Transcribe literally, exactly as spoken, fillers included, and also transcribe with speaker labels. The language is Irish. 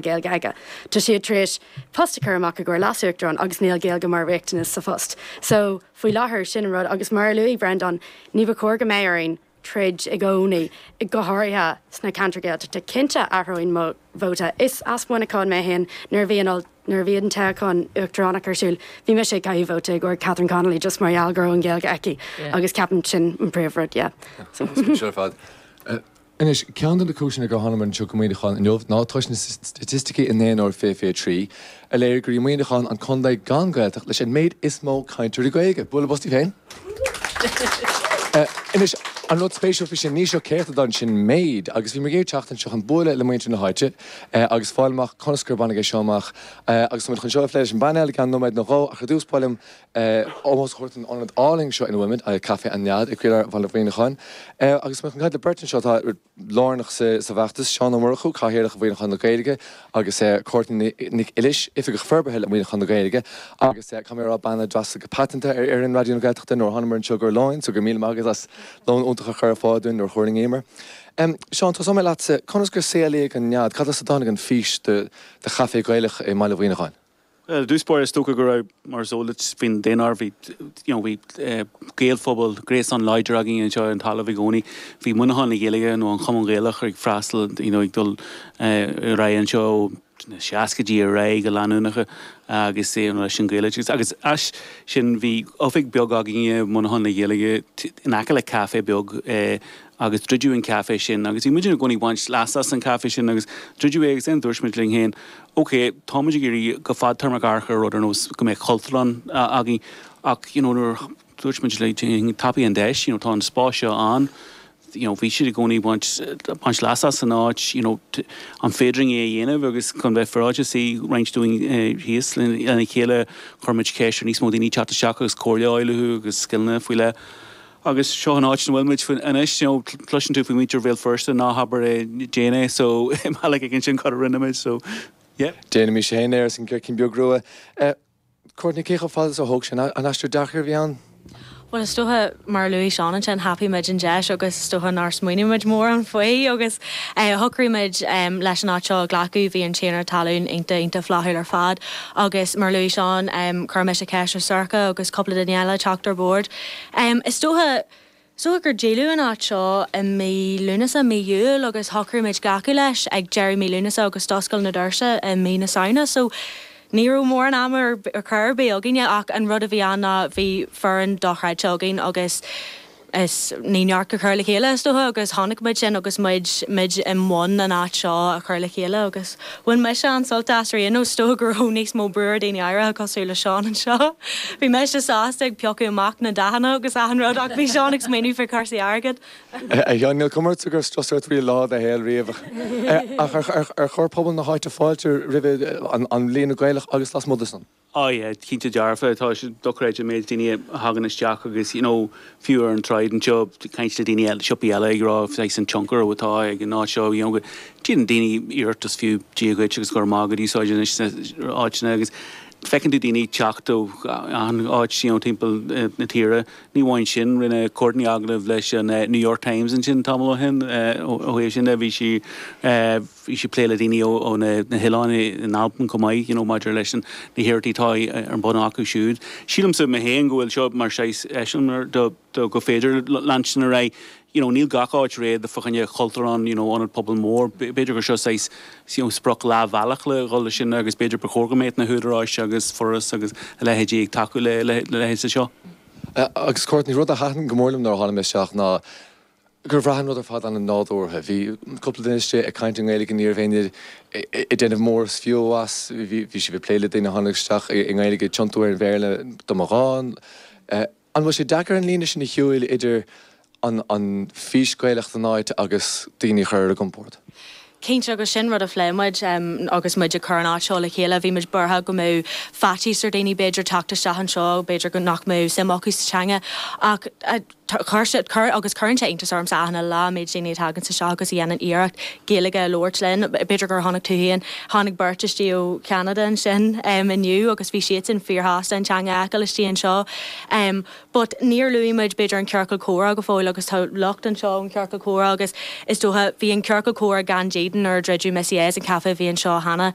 Speaker 1: Gaeilge aige. Tá siad tar éis post a chur amach i gcomhair leasuachtarán agus níl Gaeilge mar riachtanas sa phost. So faoi láthair sin an rud agus mar a luaigh Brendan, ní ba chóir go mbeadh orainn troid i gcónaí go háirithe sna ceantair Gaeltachta cinnte athróinn mo vóta. Is as Muineachán mé féin nuair a bhí an nuair a bhí an toghchán uachtaránach ar siúl, bhí mise ag caitheamh vóta i gcomhair Catherine Connolly just mar gheall go raibh an Ghaeilge aici agus ceapaim sin an príomhrud, yeah.
Speaker 2: So. fad. Anois ceann de na cúiseanna gur tháinig anseo go Muineachán inniu ná toisc na staitisticí i nDaonáireamh fiche fiche trí a léirigh gur í Muineachán an contae gan Gaeltacht leis an méid is mó cainteoirí Gaeilge. Bualadh bos daoibh féin. Anois an rud spéisiúil faoi sin ní seo céatadán sin méid agus bhí mé ag teacht anseo chun bualadh le muintir na háite agus fáil amach conas gur baineadh é seo amach agus muid chun seo a phlé leis an bpainéal i gceann nóiméad nó dhó ach ar dtús ba mhaith liom ómós a thabhairt don ionad álainn seo ina bhfuilimid, Caife an Nead i gcroílár Bhaile Mhuineacháin. Agus muid chun caint le beirt anseo atá lárnach sa bhfeachtas, Seán Ó Murchú, Cathaoirleach Mhuineachán le Gaeilge agus Courtney Nic Uilis, Oifigeach Forbartha le Muineachán le Gaeilge agus caithfidh mé a rá bean a d'fhreastail go paiteanta ar fhoireann Raidió na Gaeltachta nuair a thánamar anseo ar lóin, so go míle maith agat as lón iontach a chur ar fáil dúinn nuair a thuirlingíomar. Seán, tosóidh mé leatsa, conas gur saolaíodh an Nead? Cad as a dtáinig an fís do chaifé Gaelach i mBaile Mhuineacháin?
Speaker 3: Well, i dtús báire is dócha go raibh mar is eol duit faoin daonáireamh bhí you know bhí Gaelphobal gréasán láidir againn anseo ar an talamh i gcónaí. Bhí Muineachán le Gaeilge nó an Chumann Gaelach ag freastal you know ag dul ar aghaidh anseo ó na seascaidí ar aghaidh go leanúnach agus you know leis an Ghaeilge agus as sin bhí oifig beag againne Muineachán le Gaeilge in aice le caife beag agus druideadh an caife sin agus bhí muid i gcónaí ag baint leas as an caife sin agus druideadh é agus then dúirt muid linn féin ok táimid ag iarraidh go fadtéarmach amharc ar rud ar nós go mbeadh cultúrlann againn ach you know nuair dúirt muid le tapaigh an deis you know tá an spás seo ann you know bhí siad i gcónaí baint baint leas as an áit you know an féidir é a dhéanamh agus chun bheith féaráilte suigh roinnt dúinn thíos lena chéile chuir muid ceist ar níos mó daoine teacht isteach agus comhairle a fháil uathu agus scileanna faoi leith. Agus seo an áit ina bhfuil muid anois, you know, cloiseann tú faoi muintir Bhéal Feirste ná habair é déan é, so i mbealach éigin sin cad a rinne muid, so yeah.
Speaker 2: Déanaimis féin é arsa an Circín Beag Rua. Courtney, cé chomh fada is a thóg sé an aistear deacair a bhí ann?
Speaker 4: Bhuel is dócha mar a luaigh Seán ansin thapaigh muid an deis agus is dócha nár smaoinigh muid mórán faoi agus shocraigh muid leis an áit seo a ghlacadh, bhí an tiarna talún iontach iontach flaithiúil ar fad agus mar a luaigh Seán chuir mise ceist ar Sorcha agus cúpla duine eile teacht ar bord. Is dócha is dócha gur díoladh an áit seo i mí Lúnasa, mí Iúil agus shocraigh muid glacadh leis ag deireadh mí Lúnasa agus d'oscail na doirse i mí na Samhna so ní raibh mórán ama ar chor ar bith againne ach an rud a bhí ann ná bhí foireann dochreidte againn agus is ní neart go cur le chéile is dócha agus chonaic muid sin agus muid muid i mbun an áit seo a chur le chéile agus bhain mise an-sult as ar aon nós is dócha go raibh níos mó brú ar daoine áirithe cosúil le Seán anseo. Bhí mise sásta ag piocadh amach na dathanna agus achan rud ach bhí Seán ag smaoineamh faoi chúrsaí airgid.
Speaker 2: A Sheáin, níl cuma ortsa go raibh strus ort riamh lá de shaol riamh ach ar chuir pobal na háite fáilte roimhe an líonra Gaelach agus lasmuigh de san?
Speaker 3: Oh yeah, cinnte dearfa, tá sé dochreidte an méid daoine a thagann isteach agus you know fiú ar an tsráid anseo caint le daoine eile siopaí eile ag rá saghas an tionchar atá ag an áit seo you know go déanann daoine iarracht is fiú Dia dhuit agus go raibh maith agat úsáid anois sna áiteanna agus feiceann tú daoine teacht ó achan áit you know timpeall na tíre. Ní amháin sin, rinne Courtney agallamh leis an New York Times ansin tamall ó shin ó thaobh sin de bhí sí bhí sí ag plé le daoine ó na hoileáin in Albain chomh maith you know maidir leis na hiarrachtaí atá ar bun acu siúd. Sílimse mé féin go bhfuil seo mar saghas eiseamláir do do go féidir leanstan ar aghaidh you know níl gach áit réidh fá choinne cultúrlann you know ionad pobail mór b'fhéidir gur seo saghas you know sprioc leathbhealach le dhul leis sin agus b'fhéidir ba chóir go mbeadh na húdaráis agus foras agus a leithéidí ag tacú le le leithéid seo.
Speaker 2: Agus Courtney, rud a thaitin go mór liom nuair a tháinig mé isteach ná gur bhraith an rud ar fad an-nádúrtha. Bhí cúpla duine istigh ag caint i nGaeilge ní raibh éinne ag déanamh mór is fiú as, bhí sibh ag plé le daoine a tháinig isteach i nGaeilge ag tiontú ar an Bhéarla dá mba ghá. An bhfuil sé deacair an líne sin a shiúil idir an an fís Gaelach don áit agus daoine a chur ar a gcompord?
Speaker 4: Cinnte agus sin rud a phléigh muid agus muid ag cur an áit seo le chéile, bhí muid buartha go mbeadh faitíos ar daoine b'fhéidir teacht isteach anseo, b'fhéidir go nach mbeadh suim acu sa teanga ach chuir sé chuir agus cuireann sé iontas ormsa achan lá an méid daoine a thagann isteach agus a dhéanann iarracht Gaeilge a labhairt linn. B'fhéidir gur chonaic tú féin, tháinig beirt istigh ó Cheanada ansin inniu agus bhí siadsan fíorshásta an teanga a fheiceáil istigh anseo. But níor luaigh muid b'fhéidir an ciorcal comhrá go fóill agus tá lucht anseo ón ciorcal comhrá agus is dócha bhí an ciorcal comhrá gan dídean Eden nuair a druideadh Missy A's an caife a bhí anseo cheana.